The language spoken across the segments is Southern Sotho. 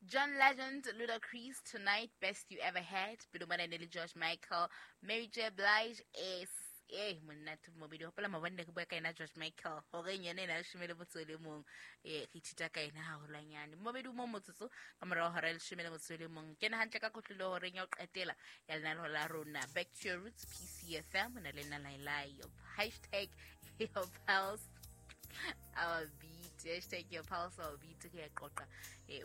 John Legend, Ludacris, Tonight, Best You Ever Had, pele mona ne le George Michael, Mary J. Blige, monate mobedi hopola mabone re bua ka ena George Michael horeng yena ena 11, re ithuta ka ena haholwanyane. Mobedi mo motsotso ka morao hora 11. Kena hantle ka kotlolo horeng ya ho qetela ya lenaneo la rona Back to Your Roots PCFM, na le nna Lailai. Hashtag your pulse our beat, hashtag your pulse our beat, ke ya qoqa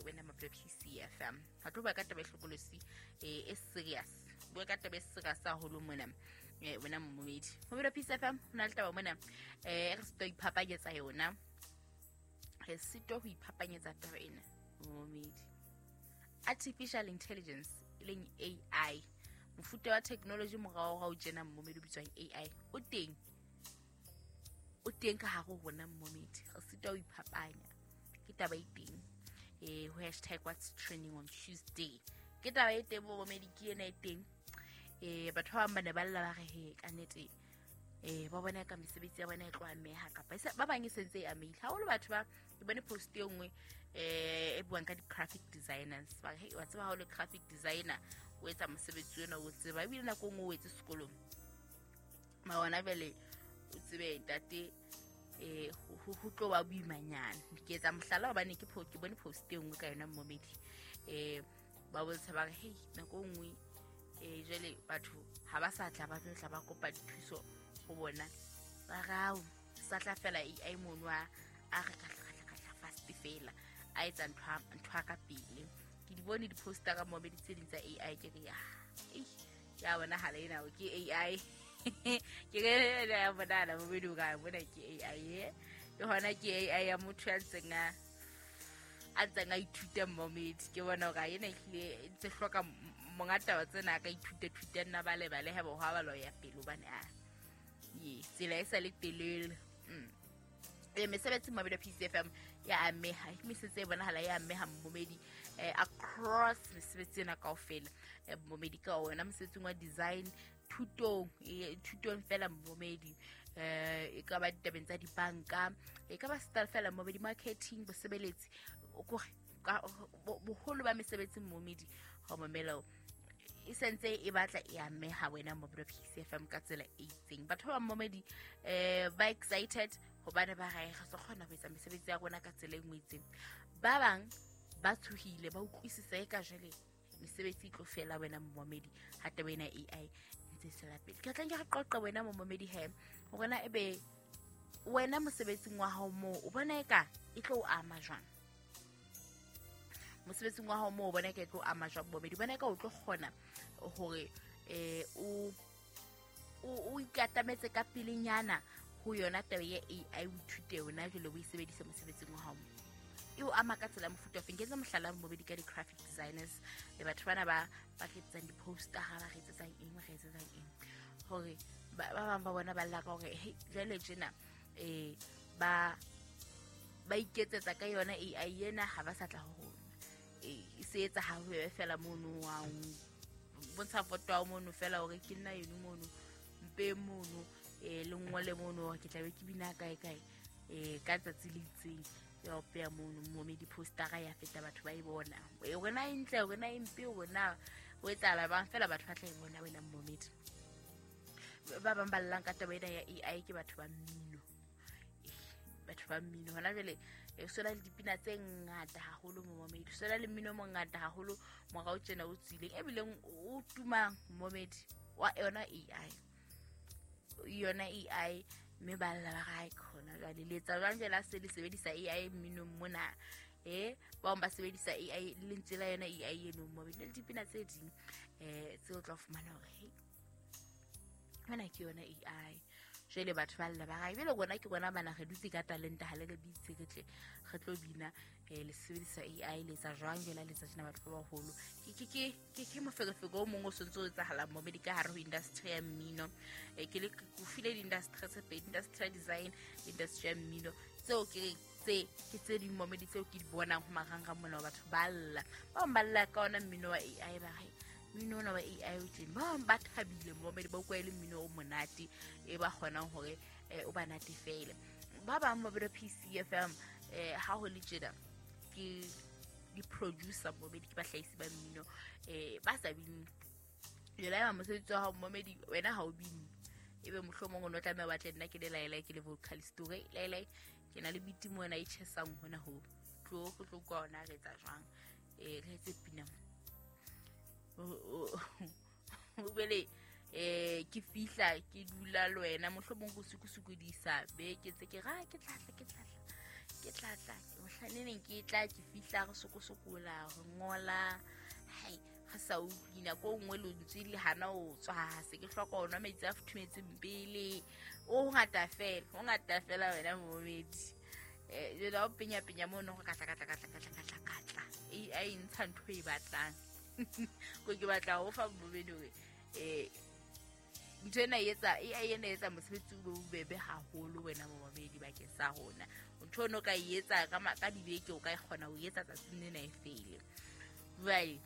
wena maphelo PCFM. Ha tlo bua ka taba e hlokolosi, e serious, bua ka taba e serious haholo mona. Wena mmomedi mobedi wa PCFM, ho na le taba mona re sitwa ho iphapanyetsa yona, re sitwa ho iphapanyetsa taba ena momedi. Artificial intelligence e leng AI, mofuta wa technology morao tjena mmomedi o bitswang AI, o teng ka hare ho rona mmomedi, re sitwa ho iphapanya. Ke taba e teng ho hashtag what's trending on Tuesday. Ke taba e teng momedi, ke ena e teng. Batho ba bang ba ne ba lla ba re he ka nnete, ba bona ka mesebetsi ya bona e tlo ameha, kapa ba bang e sentse e amehile haholo. Batho ba ke bone post e nngwe e buang ka di-graphic designers, ba re wa tseba ha o le graphic designer o etsa mosebetsi ona o tseba, ebile nako e nngwe o etse sekolong ma ona jwale o tsebe ntate, ho tlo ba boimanyana. Ke etsa mohlala hobane ke bone post e nngwe ka yona mmomedi, ba bontsha ba re hei nako e nngwe jwale batho ha ba sa tla ba tlo tla ba kopa dithuso ho bona, ba rao sa tla fela AI mono a re ka tla fast fela a etsa ntho ka pele. Ke di bone di-poster ka momedi tse ding tsa AI, ke re ya bonahala ena ke AI. Ke re ya bonahala momedi o ka bona ke AI, le hona ke AI ya motho ya ntseng a ithuta momedi. Ke bona hore ena ehlile ntse hloka monga taba tsena a ka ithuta thuta nna ba lebale ha bo ha ba lo ya pele hobane a ye tsela e sa le telele. Mesebetsi mabedi PCFM ya ameha, mesebetsi e bonahala ya ameha mmomedi across mesebetsi ena kaofela. Mmomedi ka wona mosebetsing wa design, thutong fela mmomedi, e ka ba ditabeng tsa dibanka, e ka ba style fela mmomedi, marketing, bosebeletsi, boholo ba mesebetsi mmomedi ha mamela e sentse e batla e ameha wena mobedi PCFM ka tsela e itseng. Batho ba mmomedi ba excited hobane ba re re kgona ho etsa mesebetsi ya rona ka tsela e nngwe itseng. Ba bang ba tshohile, ba utlwisisa e ka jwale mesebetsi e tlo fela wena mmomedi ha taba ena AI ntse e tswela pele. Ke tla nke re qoqe wena mmomedi he hore na ebe wena mosebetsing wa hao moo o bona eka e tlo o ama jwang. Mosebetsing wa hao moo o bona eka e tlo ama jwang mmomedi, bona eka o tlo kgona hore o ikatametse ka pelenyana ho yona taba ya AI, o ithute yona jwale o e sebedise mosebetsing wa hao. E o ama ka tsela mofuta ofeng. Ke etsa mohlala mmobedi ka di-graphic designers le batho bana ba re etsetsang di-poster, ba re etsetsang eng, ba re etsetsang eng, hore ba bang ba bona ba lla ka hore hey jwale tjena ba iketsetsa ka yona AI ena, ha ba sa tla ho rona, e se etsa ha ho fela mono wa bontsha foto ya mono fela hore ke nna eno mono mpe mono le ngole mono ke tla be ke bina kae kae ka tsatsi le itseng ya opeya mono momedi postera ya feta batho ba e bona rona e ntle rona e mpe rona ho etsahala bang fela batho ba tla e bona wena momedi. Ba bang ba llang ka taba ena ya AI ke batho ba mmino, batho ba mmino hona jwale sola le dipina tse ngata haholo momedi, sola le mmino o mongata haholo morao tjena o tswileng ebileng o tumang momedi wa yona AI, yona AI, mme ba lla ba re khona jwale le etsa jwang jwale se le sebedisa AI mminong mona, ba bang ba sebedisa AI lentswe la yona AI eno momedi le dipina tse ding tseo tla fumana hore hey mona ke yona AI. Jwale batho ba lla ba re jwale rona ke rona bana re dutse ka talente ha le re bitse re tle re tlo bina, le sebedisa AI le etsa jwang jwale le etsa tjena batho ba baholo. Ke moferefere o mong o sontse o etsahalang momedi ka hare ho industry ya mmino. Ke le ke file di-industry tse pedi, industry ya design, industry ya mmino, tseo ke tse ke tse ding momedi tseo ke di bonang ho marangrang mona batho ba lla. Ba bang ba lla ka ona mmino wa AI, ba re mmino ona wa AI o teng, ba bang ba thabile momedi ba utlwa e le mmino o monate e ba kgonang hore o ba natefele. Ba bang ba bile PCFM ha ho le tjena ke di-producer momedi, ke bahlahisi ba mmino ba sa bineng. Jwale haeba mosebetsi wa hao momedi wena ha o bine, ebe mohlomong o no tlameha o batle nna ke le laelae, ke le vocalist hore laelae ke na le beat mona e tjhesang hona ho tlo go tlo kwa ona re etsa jwang, re etse pina o bele ke fihla ke dula le wena mohlomong go sukusukodisa be ke tse ke ra ke tlatla mohlaneng ke tla ke fihla re sokosokola re ngola hai re sa utlwi nako nngwe lentswe le hana o tswa se ke hloka ho nwa metsi a futhumetseng pele. O ngata fela wena momedi. Jwale o penya penya mono go katla AI ntsha ntho e batlang. Ko ke batla ho fa momedi hore ntho ena e etsa AI ena etsa mosebetsi o be bobebe haholo wena momedi bakeng sa rona. Ntho ono ka e etsa ka dibeke o ka e kgona ho etsa tsatsing lena e fele. Jwale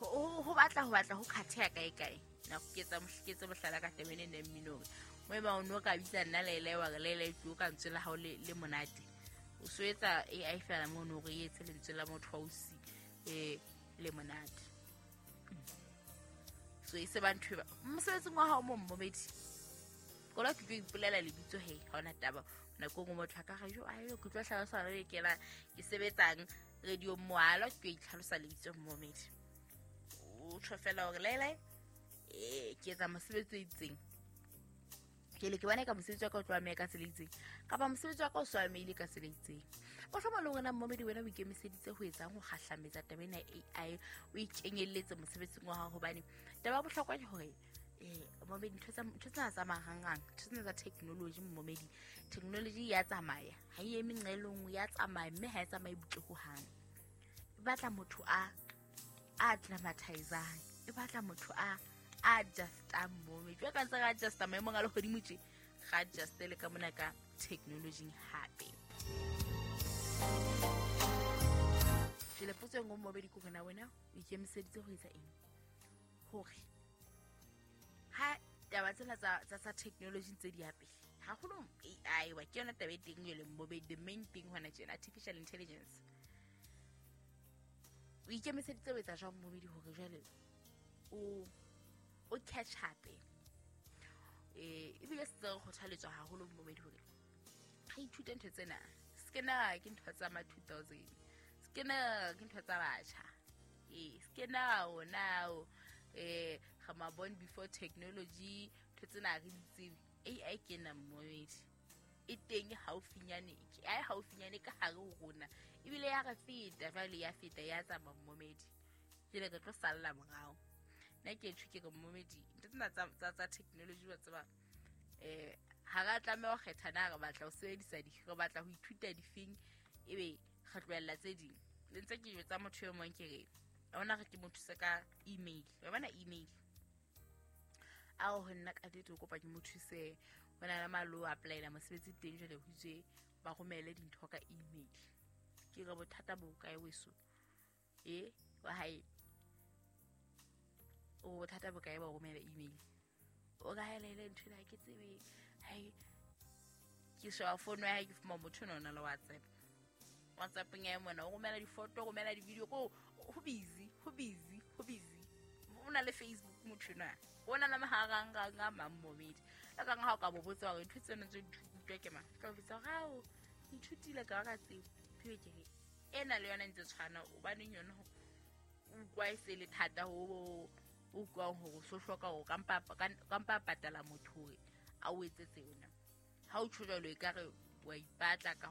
ho batla ho khatheha kae kae. Na ke etsa mohlala ka taba ena ya mmino. Mo eba o no ka bitsa nna Lele wa re Lele tlo ka ntswe la hao le monate. O so etsa AI fela mono re etse lentswe la motho wa usi le monate. So e se ba ntho ba mosebetsing wa hao mo momedi. Kola ke tlo ipolela lebitso he ha ona taba. Nako nngwe motho a ka re jo ayo ke tlo hlalosa re ke la ke sebetsang radio moalo ke tlo itlhalosa lebitso momedi. O tjho fela hore Lele ke etsa mosebetsi o itseng. Ke le ke bona ka mosebetsi wa ka o tlo ameha ka tsela e itseng kapa mosebetsi wa ka o so amehile ka tsela e itseng. Mohlomong le wena momedi wena o ikemiseditse ho etsang ho kgahlametsa taba ena AI, o ikenyelletse mosebetsing wa hao, hobane taba ya bohlokwa ke hore momedi ntho tsena tsa marangrang, ntho tsena tsa technology momedi, technology ya tsamaya ha e eme nqa e le nngwe, ya tsamaya mme ha e tsamaye butle hohang. E batla motho a acclimatizang, e batla motho a adjustang momedi. Jwale ka ntse re adjusta maemong a lehodimo tje, re adjuste le ka mona ka technology hape. Jwale potso e nngwe momedi ke hore na wena o ikemiseditse ho etsa eng hore ha taba tsena tsa technology ntse di ya pele haholo AI wa ke yona taba e teng jwale momedi, the main thing hona tjena artificial intelligence. O ikemiseditse ho etsa jwang momedi hore jwale o catch up? Ebile se re kgothaletswa haholo momedi hore re ithute ntho tsena. Se na ke ntho tsa ma 2000, se na ke ntho tsa batjha, se na ona re ma born before technology, ntho tsena re di tsebe. AI ke na momedi e teng haufinyane, ai haufinyane ka hare ho rona, ebile ya re feta jwale, ya feta ya tsamaya momedi. Jwale re tlo salla morao. Nna ke tjho ke re momedi ntho tsena tsa technology wa tseba ha ra tlameha ho kgetha na re batla ho sebedisa di, re batla ho ithuta difeng, ebe re tlohella tse ding. Le ntse ke jwetsa motho e mong ke re ona re ke mo thuse ka email, wa bona email ao ho nna ka nnete o kopa ke mo thuse ho na le malo applyela mosebetsi teng jwale ho itswe ba romele dintho ka email. Ke re bothata bo kae weso wa hae o bothata bo kae ba romela email? O ka helele ntho ena ke tsebe hai ke sheba phone ya hae ke fuma motho ona le WhatsApp. WhatsApp ya mona o romela difoto, o romela di-video, ko ho busy. O na le Facebook motho ona o na le marangrang a mang momedi. La kang ha o ka bo botsa hore ntho tsena tse di utlwa ke mang, ka bitsa hore ao ithutile ka ka tsebo. Ke re ena le yona ntse tshwana, hobaneng yona o utlwa e se le thata ho o utlwang hore o so hloka hore kampa patala motho hore a o etsetse yona. Ha o tjho jwalo ekare wa ipatla ka